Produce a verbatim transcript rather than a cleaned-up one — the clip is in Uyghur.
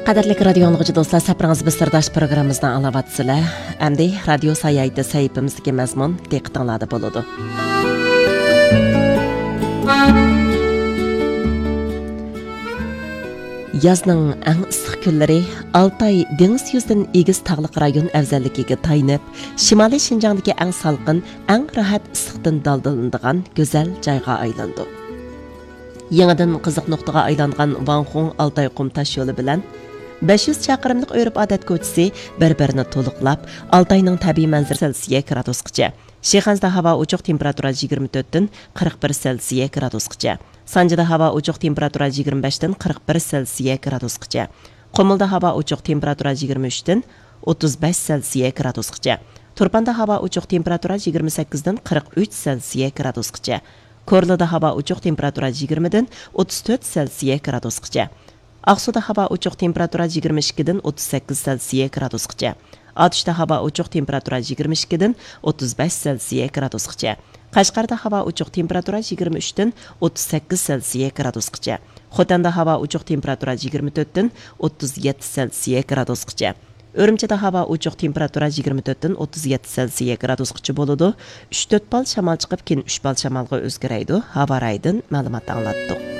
قەدىرلىك رادىيو ئاڭلىغۇچى دوستلار، سەپىرىڭىز بىز سىرداش پروگراممىمىزنى ئاڭلاۋاتىسىلەر. ئەمدى رادىيو ساياھىتى سەھىپىمىزدىكى مەزمۇن دىققىتىڭلاردا بولىدۇ. يازنىڭ ئەڭ ئىسسىق كۈنلىرى ئالتاي دېڭىز يۈزىدىن ئېگىز تاغلىق رايون ئەۋزەللىكىگە تايىنىپ، شىمالىي شىنجاڭدىكى ئەڭ سالقىن، ئەڭ راھەت ئىسسىقتىن دالدىلىنىدىغان گۈزەل جايغا ئايلىنىدۇ. يېڭىدىن قىزىق نۇقتىغا ئايلانغان ۋاڭخۇڭ ئالتاي قۇم تاش يولى بىلەن بەش يۈز چاقىرىملىق ئۆرپ-ئادەت كوچىسى بىر-بىرىنى تولۇقلاپ، ئالتاينىڭ تەبىئىي مەنزىرىسى سېلسىيە گرادۇسقىچە، شىخەنزىدە ھاۋا ئوچۇق، تېمپېراتۇرا يىگىرمە تۆتتىن قىرىق بىر سېلسىيە گرادۇسقىچە، سانجىدا ھاۋا ئوچۇق، تېمپېراتۇرا يىگىرمە بەشتىن قىرىق بىر سېلسىيە گرادۇسقىچە، قۇمۇلدا ھاۋا ئوچۇق، تېمپېراتۇرا يىگىرمە ئۈچتىن ئوتتۇز بەش سېلسىيە گرادۇسقىچە، تۇرپاندا ھاۋا ئوچۇق، تېمپېراتۇرا يىگىرمە سەككىزدىن قىرىق ئۈچ سېلسىيە گرادۇسقىچە، كورلىدا ھاۋا ئوچۇق، تېمپېراتۇرا يىگىرمىدىن ئوتتۇز تۆت سېلسىيە گرادۇسقىچە، ئاقسۇدا ھاۋا ئوچۇق، تېمپېراتۇرا يىگىرمە ئىككىدىن ئوتتۇز سەككىز سېلسىيە گرادۇسقىچە، ئاتۇشتا ھاۋا ئوچۇق، تېمپېراتۇرا يىگىرمە ئىككىدىن ئوتتۇز بەش سېلسىيە گرادۇسقىچە، قەشقەردە ھاۋا ئوچۇق، تېمپېراتۇرا يىگىرمە ئۈچتىن ئوتتۇز سەككىز سېلسىيە گرادۇسقىچە، خوتەندە ھاۋا ئوچۇق، تېمپېراتۇرا يىگىرمە تۆتتىن ئوتتۇز يەتتە سېلسىيە گرادۇسقىچە، ئۈرۈمچىدە ھاۋا ئوچۇق، تېمپېراتۇرا يىگىرمە تۆتتىن ئوتتۇز يەتتە سېلسىيە گرادۇسقىچە بولىدۇ. ئۈچ تۆت بال شامال چىقىپ، كېيىن ئۈچ بال شامالغا ئۆزگىرەيدۇ. ھاۋا رايىدىن مەلۇمات ئاڭلاتتۇق.